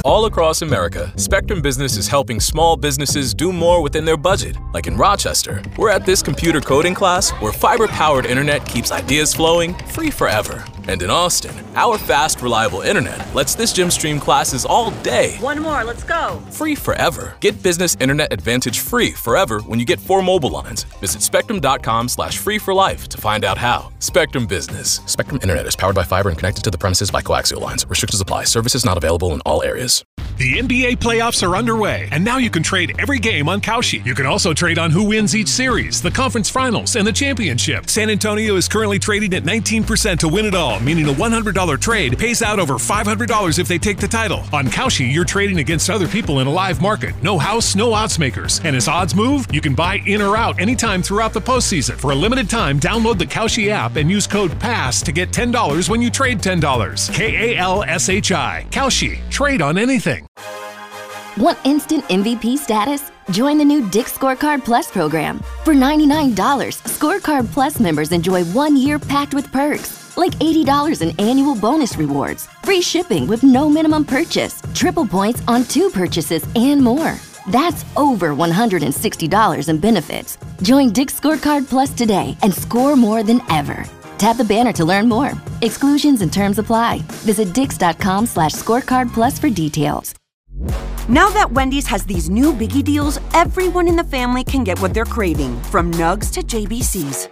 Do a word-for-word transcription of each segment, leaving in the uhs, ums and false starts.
All across America, Spectrum Business is helping small businesses do more within their budget. Like in Rochester, we're at this computer coding class where fiber-powered internet keeps ideas flowing free forever. And in Austin, our fast, reliable internet lets this gym stream classes all day. One more, let's go. Free forever. Get business internet advantage free forever when you get four mobile lines. Visit spectrum.com slash free for life to find out how. Spectrum Business. Spectrum Internet is powered by fiber and connected to the premises by coaxial lines. Restrictions apply. Services not available in all areas. The N B A playoffs are underway, and now you can trade every game on Kalshi. You can also trade on who wins each series, the conference finals, and the championship. San Antonio is currently trading at nineteen percent to win it all, meaning a one hundred dollar trade pays out over five hundred dollars if they take the title. On Kalshi, you're trading against other people in a live market. No house, no odds makers. And as odds move, you can buy in or out anytime throughout the postseason. For a limited time, download the Kalshi app and use code PASS to get ten dollars when you trade ten dollars. K A L S H I. Kalshi. Trade on anything. Want instant M V P status? Join the new Dick's Scorecard Plus program. For ninety-nine dollars, Scorecard Plus members enjoy one year packed with perks, like eighty dollars in annual bonus rewards, free shipping with no minimum purchase, triple points on two purchases, and more. That's over one hundred sixty dollars in benefits. Join Dick's Scorecard Plus today and score more than ever. Tap the banner to learn more. Exclusions and terms apply. Visit dicks.com slash scorecard plus for details. Now that Wendy's has these new biggie deals, everyone in the family can get what they're craving, from nugs to J B Cs.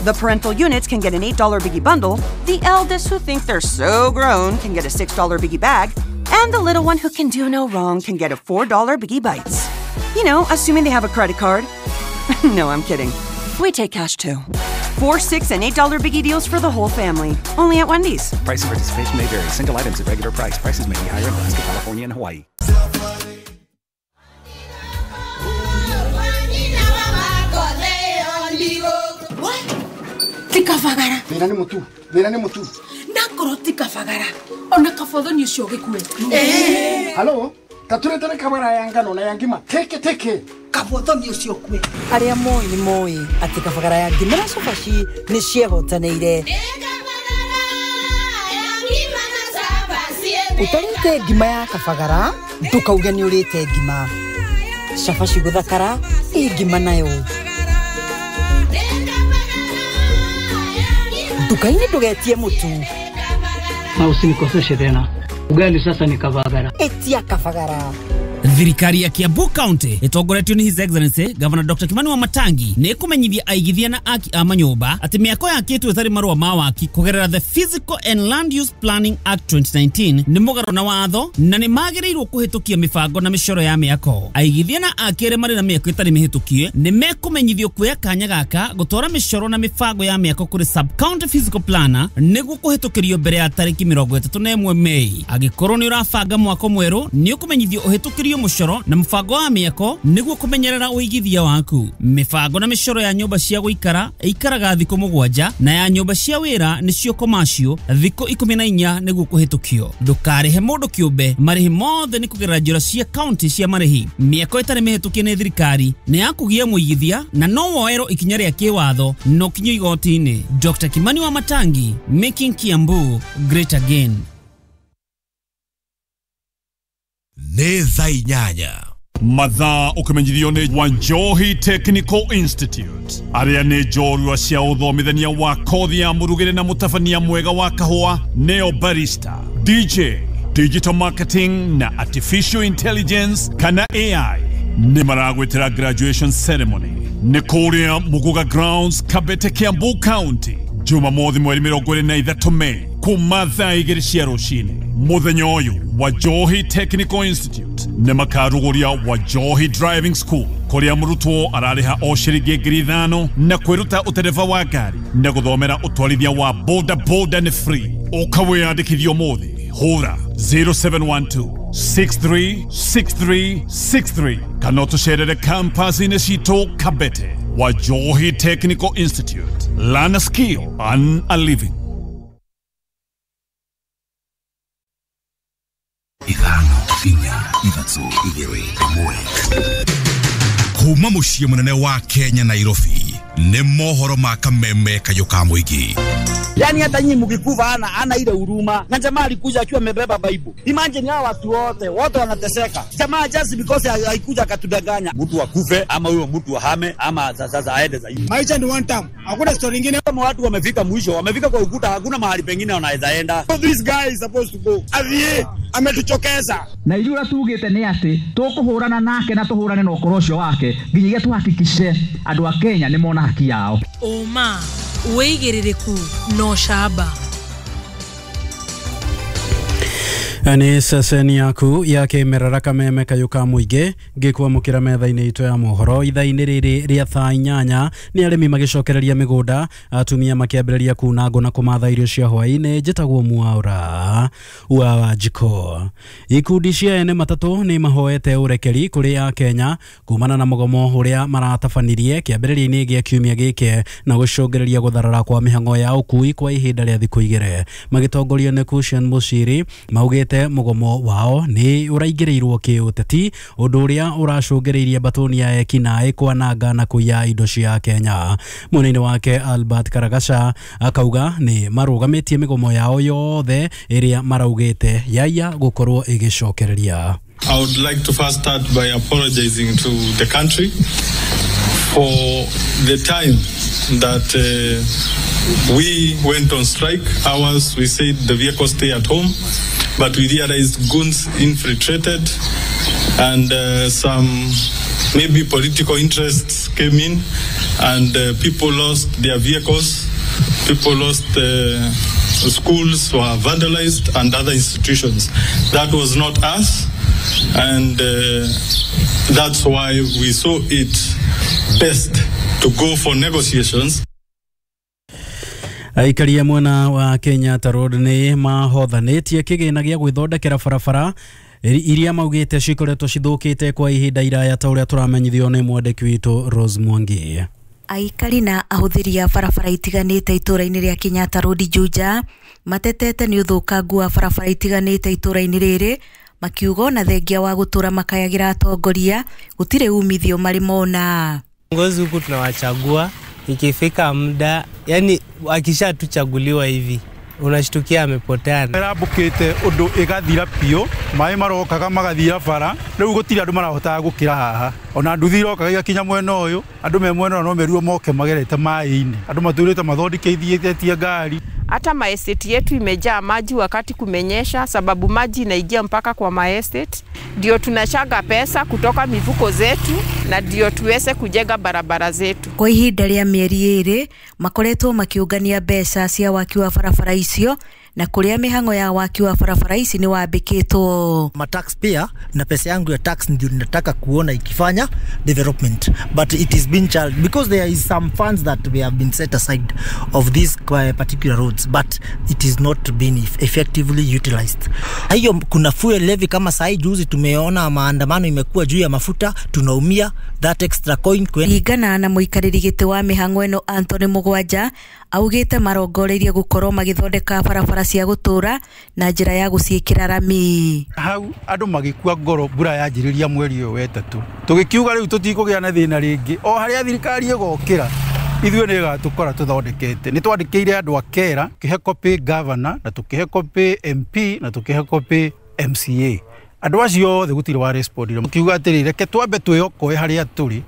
The parental units can get an eight dollar biggie bundle, the eldest who think they're so grown can get a six dollar biggie bag, and the little one who can do no wrong can get a four dollar biggie bites. You know, assuming they have a credit card. No, I'm kidding. We take cash too. Four, six, and eight dollar biggie deals for the whole family. Only at Wendy's. Price and participation may vary. Single items at regular price. Prices may be higher in Alaska, California, and Hawaii. Tikafagara. Thina nĩ mũtu. Thina nĩ mũtu. Ndakorwo tikafagara. Ona kabothoni ũcio gĩkue. Eh. Halo, taturetere kabara ya ngano na ya ngima. Teke teke. Kabothoni ũcio kue. Arĩa moĩ nĩ moĩ atĩ kabagara ya ngima na cabaci nĩ ciehotanĩire. Ũtarĩte ngima ya kabagara ndũkauge nĩ ũrĩte ngima. Cabaci gũthakara ĩ ngima nayo. Nduka-inĩ ndũgetie mũtu. Na usinikoseshe tena. Ugali sasa ni kabagara. Etia kabagara. Thirikari ya Kiambu County itongoretio ni His Excellency Governor Doctor Kimani Wamatangi ni kumenyithia aigithia na aki a manyumba ati miako yakitwo ĩtarĩ marũa ma waki kugerera the Physical and Land Use Planning Act twenty nineteen ni mũgarũ na watho na nĩ magĩrĩirwo kũhĩtũkia mĩbango na mĩcoro ya mĩako. Aigithia na aki arĩa marĩ na mĩako ĩtarĩ mĩhĩtũkie nĩ mekũmenyithio kuoya kanya gaka gũtwara mĩcoro na mĩbango ya mĩako kũrĩ sub county physical planner nĩguo kũhĩtũkĩrio mbere ya tarĩki mĩrongo ĩtatũ na ĩmwe Mei. Angĩkorwo nĩ ũrabanga mwako mwerũ nĩ ũkũmenyithio ũhĩtũkĩrio mũcoro na mũbango wa mĩako nĩguo kũmenyerera ũigithia waku. Mĩbango na mĩcoro ya nyũmba cia gũikara ĩikaraga thikũ mũgwanja na ya nyũmba cia wĩra nĩcio commercial thikũ ikũmi na inya nĩguo kũhĩtũkio. Ndũkarĩhe mũndũ kĩũmbe, marĩhi mothe nĩ kũgerera njĩra cia county cia marĩhi. Mĩako ĩtarĩ mĩhĩtũkie nĩ thirikari nĩ ya kũgia mũigithia na no woerwo ikinya rĩa kĩwatho no kinyio igoti-inĩ. Doctor Kimani Wamatangi, making Kiambu great again. Nĩ thaa inyanya. Mathaa ũkĩmenyithio nĩ Wanjohi Technical Institute arĩa nĩ njorua cia ũthomithania wa kothi ya mũrugĩre na mũtabania mwega wa kahũa neo barista, D J, digital marketing na artificial intelligence kana A I nĩ maragwĩtĩra graduation ceremony nĩ kũrĩa Muguga Grounds, Kabete, Kiambu County, Jumamothi mweri mĩrongo ĩrĩ na ithatũ Mei kuma thaa igĩrĩ cia rũcinĩ. Mũthenya ũyũ Wanjohi Technical Institute nĩ makarugũria Wanjohi Driving School kũrĩa mũrutwo ararĩha o ciringi ngiri ithano na kwĩruta ũtereba wa ngari na gũthomera ũtwarithia wa boda boda nĩ free. Ũka wĩyandĩkithie ũmũthĩ, hũra zero seven one two six three six three six three kana ũtũcerere campus-inĩ citũ Kabete. Wanjohi Technical Institute. Learn a skill, earn a living. Ithano, inya, ithatũ, igĩrĩ, ĩmwe. Kuma mũciĩ mũnene wa Kenya, Nairobi. Nĩ mohoro ma kameme kayũ ka mũingĩ. Yani hata nyinyi mkikufa ana ana ile huruma. Na jamaa alikuja akiwa amebeba Bible. Imagine hao watu wote, wote wanateseka. Jamaa just because haikuja akatudanganya. Mtu akufe ama huyo mtu ahame ama sasa aende zaidi. Maisha ni one time. Hakuna story nyingine. Kama watu wamefika mwisho, wamefika kwa ukuta, hakuna mahali pengine wanaweza enda. So this guy is supposed to go. Avie ametuchokeza. Na ithuĩ tugĩte nĩ atĩ tũkũhũrana nake na tũhũrane na ũkoro ũcio wake nginyagia tuhakikishe andũ a Kenya nĩ mona haki yao. Ũma wĩigĩrĩrĩku no camba. Nĩ ceceni yaku ya kĩmerera kameme kayũ ka mũingĩ ngĩkwamũkĩra metha-inĩ itũ ya mohoro ithaa-inĩ rĩrĩ rĩa thaa inyanya. Nĩ arĩmi magĩcokereria mĩgũnda, atumia makĩambĩrĩria kuna ngũ na kũmatha irio cia hwaĩ-inĩ. Njĩtagwo Mwaura wa Wanjikũ. Ikundi cia ene matatũ nĩ mahoete ũrekeri kũrĩ a Kenya kumana na mũgomo ũrĩa maratabanirie kĩambĩrĩria-inĩ gĩa kiumia gĩkĩ na gũcũngĩrĩria gũtharara kwa mĩhang'o ya ũkui kwa ihinda rĩa thikũ igĩrĩ. Magĩtongorio nĩ Cushion Muchiri maugĩte mũgomo wao nĩ ũraingĩrĩirwo kĩũteti, ũndũ ũrĩa ũracũngĩrĩirie mbatũni ya ekinaĩ kwananga na kũiya indo cia Kenya. Mwena-inĩ wake Albert Karagaca akauga nĩ marũgamĩtie mĩgomo yao yothe ĩrĩa maraugĩte yaiya gũkorwo ĩgĩcokereria. I would like to first start by apologizing to the country for the time that uh, we went on strike. Ours, we said the vehicles stay at home, but we realized goons infiltrated and uh, some maybe political interests came in and uh, people lost their vehicles, people lost uh, schools were vandalized and other institutions. That was not us, and uh, that's why we saw it best to go for negotiations. Aikari a mwena wa Kenyatta Road nĩ mahothanĩtie kĩgĩna gĩa gwĩthondekera barabara iria maugĩte cikoretwo cithũkĩte kwa ihinda iraya ta ũrĩa tũramenyithio nĩ mwandĩki witũ Rose Mwangi. Aikari na ahũthĩri a barabara itiganĩte itũra-inĩ rĩa Kenyatta Road Juja matetete nĩ ũthũkangu wa barabara itiganĩte itũra-inĩ rĩrĩ, makiuga ona thengia wa gũtũra makayagĩra atongoria gũtirĩ umithio marĩ mona. Viongozi huku tunawachagua, ikifika muda, yani akishatuchaguliwa hivi unashtukia amepotea. Ĩrambũkĩte ũndũ ĩgathira biũ, maĩ marokaga magathira bara, rĩu gũtirĩ andũ marahotaga gũkĩra haha. Ona nduthi irokaga igakinya mwena ũyũ, andũ me mwena ũyũ no merirwo moke magerete maĩ-inĩ. Andũ matũrĩte mathondekithĩtie ngari. Hata maestate yetu imejaa maji wakati kumenyesha, sababu maji inaingia mpaka kwa maestate. Ndio tunachaga pesa kutoka mifuko zetu na ndio tuweze kujenga barabara zetu. Kwa ihinda rĩa mĩeri ĩrĩ makoretwo makiũngania mbeca cia waki wa barabara icio na kuria mĩhang'o ya waki wa barabara ici ni wambĩkĩtwo. Ma tax pia na pesa yangu ya tax ndio ninataka kuona ikifanya development, but it is been charged because there is some funds that we have been set aside of these particular roads, but it is not been effectively utilized. Hiyo kuna fuel levy kama sai juzi tumeona maandamano imekuwa juu ya mafuta, tunaumia that extra coin kwen. Igana na muikarĩri gĩtĩ wa mĩhang'o ĩno Anthony Mũgwanja augĩte marongoreirie gũkorwo magĩthondeka barabara cia gũtũra na njĩra ya gũciĩkĩra rami. Hau andũ magĩkua ngoro mbura yanjĩrĩria mweri ũyũ wetatũ, tũgĩkiuga rĩu tũtikũgĩa na thĩna rĩngĩ, o harĩa thirikari ĩgokĩra ithuĩ nĩ ĩgatũkora tũthondekete. Nĩ twandĩkĩire andũ a Kera, tũkĩhe copy governor na tũkĩhe copy M P na tũkĩhe copy M C A. Andũ acio othe gũtirĩ wa respondire, makiuga atĩrĩ reke twambe twĩokoe harĩa tũrĩ,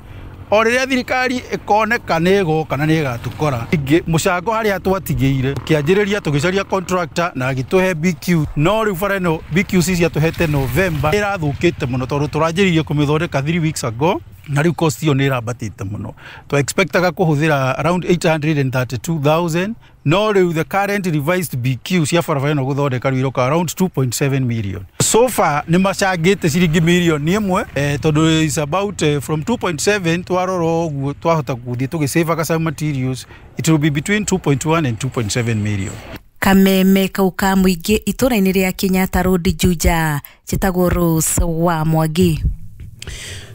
o rĩrĩa thirikari ĩkoneka nĩ ĩgoka na nĩ ĩgatũkora. Ingĩ mũcango harĩa twatigĩire kĩanjĩrĩria tũgĩcaria contractor na agĩtũhe B Q, no rĩu bara ĩno B Q C ciatũhete November ĩrathũkĩte mũno tondũ tũranjĩrĩirie kũmĩthondeka three weeks ago na rĩu cost ĩyo nĩ ĩrambatĩte mũno. Twa expectaga kũhũthĩra around eight hundred thirty-two thousand, no rĩu the current revised B Q cia barabara ĩno gũthondeka rĩu iroka around two point seven million. So far nĩ macangĩte ciringi milioni ĩmwe eh, tondũ is about eh, from two point seven twarora ũguo twahota gũthiĩ tũgĩsavaga some materials, it will be between two point one and two point seven million. Kameme kau ka mũingĩ itũra-inĩ rĩa Kenyatta Road Juja, njĩtagwo Rose wa Mwangi.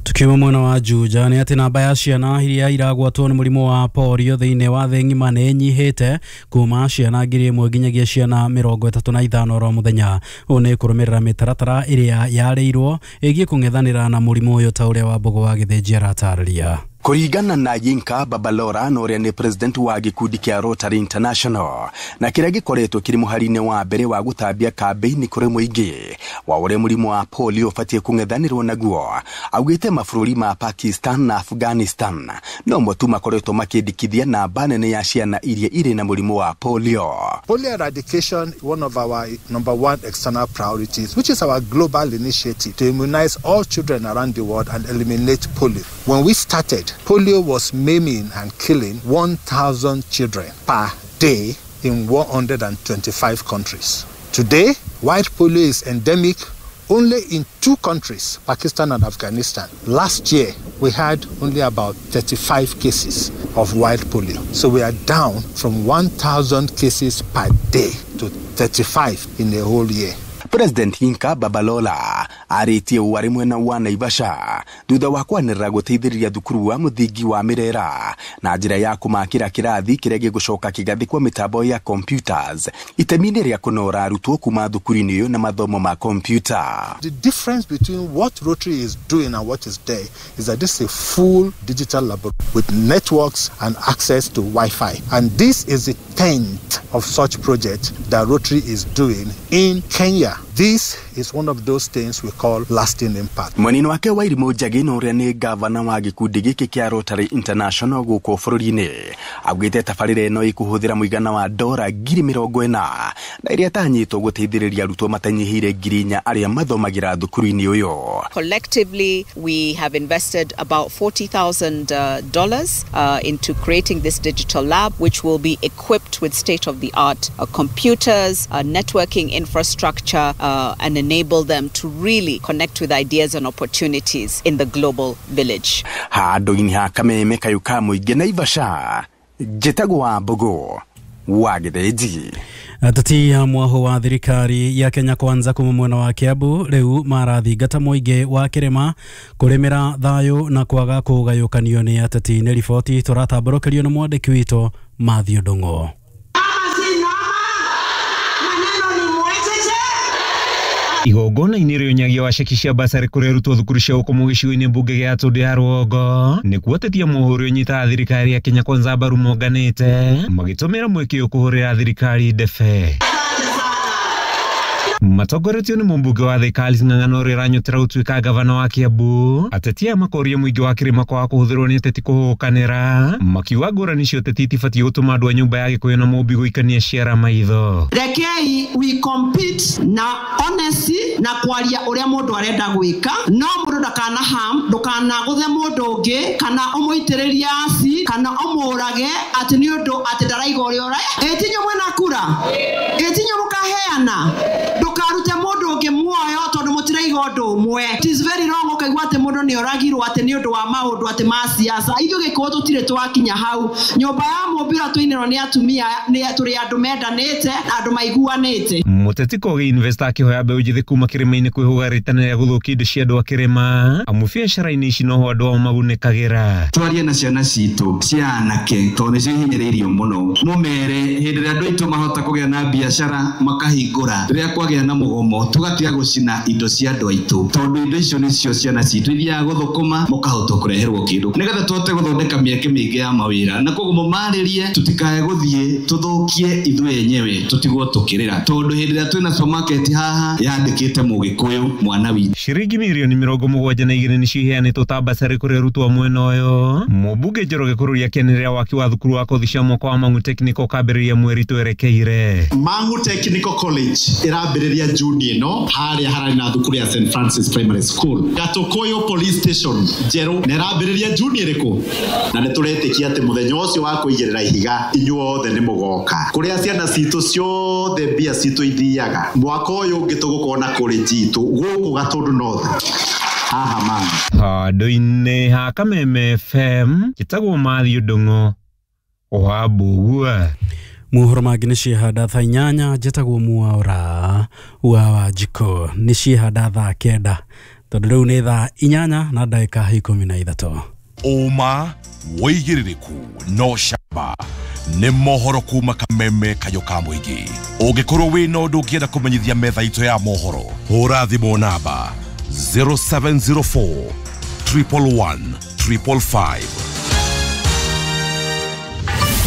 Tukiuma mwena wa Juja nĩ atĩ namba ya ciana iria iragwatwo nĩ mũrimũ wa polio thĩinĩ wa thĩ ng'ima nĩ ĩnyihĩte kuma ciana ngiri ĩmwe nginyagia ciana mĩrongo ĩtatũ na ithano oro mũthenya. Ũũ nĩ kũrũmĩrĩra mĩtaratara ĩrĩa yarĩirwo ĩgiĩ kũng'ethanĩra na mũrimũ ũyũ ta ũrĩa Wambũgũ wa Gĩthĩnji aratarĩria. Kuringana na Yinka Babalora na ũrĩa nĩ president wa gĩkundi kĩa Rotary International na kĩrĩa gĩkoretwo kĩrĩ mũhari-inĩ wa mbere wa gũtambia kambĩini kũrĩ mũingĩ wa ũrĩa mũrimũ wa polio ũbatiĩ kũng'ethanĩrwo naguo, augĩte mabũrũri ma Pakistan na Afghanistan no mo tu makoretwo makĩndĩkithia namba nene ya ciana iria irĩ na mũrimũ wa polio. Polio eradication, one of our number one external priorities, which is our global initiative to immunize all children around the world and eliminate polio. When we started, polio was maiming and killing one thousand children per day in one hundred twenty-five countries. Today, white polio is endemic only in two countries, Pakistan and Afghanistan. Last year, we had only about thirty-five cases of wild polio. So we are down from one thousand cases per day to thirty-five in a whole year. President Yinka Babalola arĩtie ũũ arĩ mwena wa Naivasha thutha wa kwanĩrĩra gũteithĩrĩria thukuru wa mũthingi wa Mirera na njĩra ya kũmakĩra kĩrathi kĩrĩa gĩgũcoka kĩgathĩkwo mĩtambo ya computers itemi-inĩ rĩa kũnora arutwo kuma thukuru-inĩ ũyũ na mathomo ma computer. The difference between what Rotary is doing and what is there is that this is a full digital laboratory with networks and access to Wi-Fi. And this is the tenth of such project that Rotary is doing in Kenya. This is one of those things we call lasting impact. Mwanini wake Wairimu Njagi na ũrĩa nĩ gavana wa gĩkundi gĩkĩ kĩa Rotary International gũkũ bũrũri-inĩ augĩte tabarĩra ĩno ĩkũhũthĩra mũigana wa dora ngiri mĩrongo ĩna na ĩrĩa ĩtanyĩtwo gũteithĩrĩria arutwo matanyihĩire ngiri inya arĩa mathomagĩra thukuru-inĩ ũyũ. Collectively, we have invested about forty thousand dollars uh, into creating this digital lab, which will be equipped with state-of-the-art uh, computers, uh, networking infrastructure, uh, and enable them to really connect with ideas and opportunities in the global village. Handũ-inĩ ha Kameme kayũ ka mũingĩ Naivasha, njĩtagwo Wambũgũ wa Gĩthĩnji. Ateti a mwaho wa thirikari ya Kenya Kwanza kuma mwena wa Kiambu riu marathingata mũingĩ wa kĩrĩma kũrĩmĩra thayũ na kwaga kũgayũkanio nĩ ateti. Nĩ riboti tũratambũrũkĩrio nĩ mwandĩki witũ Matthew Ndung'u. Igongona-inĩ rĩa ũnyagia wa ceki cia basarĩ kũrĩa arutwo thukuru cia ũkomo gĩcigo-inĩ mbunge gĩa Tũndũ ya Rũgongo nĩkuo atetia mũhũri ũnyitaga thirikari ya Kenya Kwanza mbaru monganĩte magĩtũmĩra mweke ũyũ kũhũrĩra thirikari ndebe. Matongoretio nĩ mũmbunge wa Thika Alice Ng'ang'ana ũrĩa ũranyotera gũtuĩka gavana wa Kiambu, ateti aya makoria mũingĩ wa kĩrĩma kwaga kũhũthĩrwo nĩ ateti kũhũkanĩra, makiuga ngũrani cia ũteti itibatiĩ gũtũma andũ a nyũmba ya Gĩkũyũ na Mũmbi gũikania ciara maitho. Rekei we compete na honesty na kwaria ũrĩa mũndũ arenda gwĩka, no mũndũ ndakana harm, ndũkanagũthe mũndũ ũngĩ kana ũmũitĩrĩrie aci kana ũmũrage atĩ nĩ ũndũ atĩ ndaraiga ũrĩa ũraya. Ĩ tinyo mwena kura, ĩ tinyo mũkaheana, ndũkarute mũndũ ũngĩ muoyo tondũ mũtiraiga ũndũ ũmwe. It is very wrong ũkaigua atĩ mũndũ nĩ oragirwo atĩ nĩ ũndũ wa maũndũ atĩ ma siasa. Ithuĩ Gĩkũyũ tũtirĩ twakinya hau. Nyũmba ya Mũmbi ũrĩa tũinĩrwo nĩ atumia nĩ tũrĩ andũ mendanĩte na andũ maiguanĩte. Mũteti Kogi Investor akĩhoya mbeũ njĩthĩ kuma kĩrĩma-inĩ kwĩhũga rĩtana rĩa gũthũkia indo cia andũ a kĩrĩma amu biacara-inĩ ici noho andũ ao magunĩkagĩra. Twarie na ciana citũ cia anake tondũ nĩcio ihinyĩrĩirio mũno, mũmere hĩndĩ ĩrĩa andũ aitũ mahota kũgĩa na biacara makahingũra, rĩrĩa kwagĩa na mũgomo tũgatiga gũcina indo cia andũ aitũ tondũ indo icio nĩcio ciana citũ ithiaga gũthũkũma mũkahota kũreherwo kĩndũ nĩgetha tũhote gũthondeka mĩeke mĩingĩ ya mawĩra. Na koguo mũmarĩrie tũtikae gũthiĩ tũthũkie ithuĩ enyewe tũtigwo tũkĩrĩra tondũ hĩndĩ ĩrĩa twĩna supermarket haha yandĩkĩte Mũgĩkũyũ mwana witũ. Ciringi mirioni mĩrongo mũgwanja na igĩrĩ nĩcio iheanĩtwo ta basarĩ kũrĩ arutwo a mwena ũyũ. Mũmbunge Njoroge Kũrũri akĩanĩrĩra waki wa thukuru wa kothi cia mwaka wa Mang'u Technical kambĩrĩria mweri twerekeire. Mang'u Technical College ĩrambĩrĩria Juni ĩno harĩa hararĩ na thukuru ya Saint Francis Primary School. Gatukuyu Police Station njerũ na ĩrambĩrĩria Juni ĩrĩkũ? Na nĩ tũretĩkia atĩ mũthenya ũcio wa kũigĩrĩra ihiga inyuothe nĩ mũgoka kũrĩa ciana citũ ciothe mbia citũ ithiaga. Mwaka ũyũ ũngĩ tũgũkorwo na college itũ gũkũ Gatũndũ North haha Mang'u. Handũ-inĩ ha Kameme F M njĩtagwo Matthew Ndung'u wa Mbugua. Mohoro mangĩ nĩ ciehanda thaa inyanya, njĩtagwo Mwaura wa Wanjikũ. Nĩ ciehanda thaa kenda. Tondũ rĩu nĩ thaa inyanya na ndagĩka ikũmi na ithatũ. Ũma wĩigĩrĩrĩku no camba nĩ mohoro kuma Kameme Kayũ ka Mũingĩ. Ũngĩkorwo wĩna ũndũ ũngĩenda kũmenyithia metha itũ ya mohoro, hũra thimũ namba zero seven zero four triple one triple five.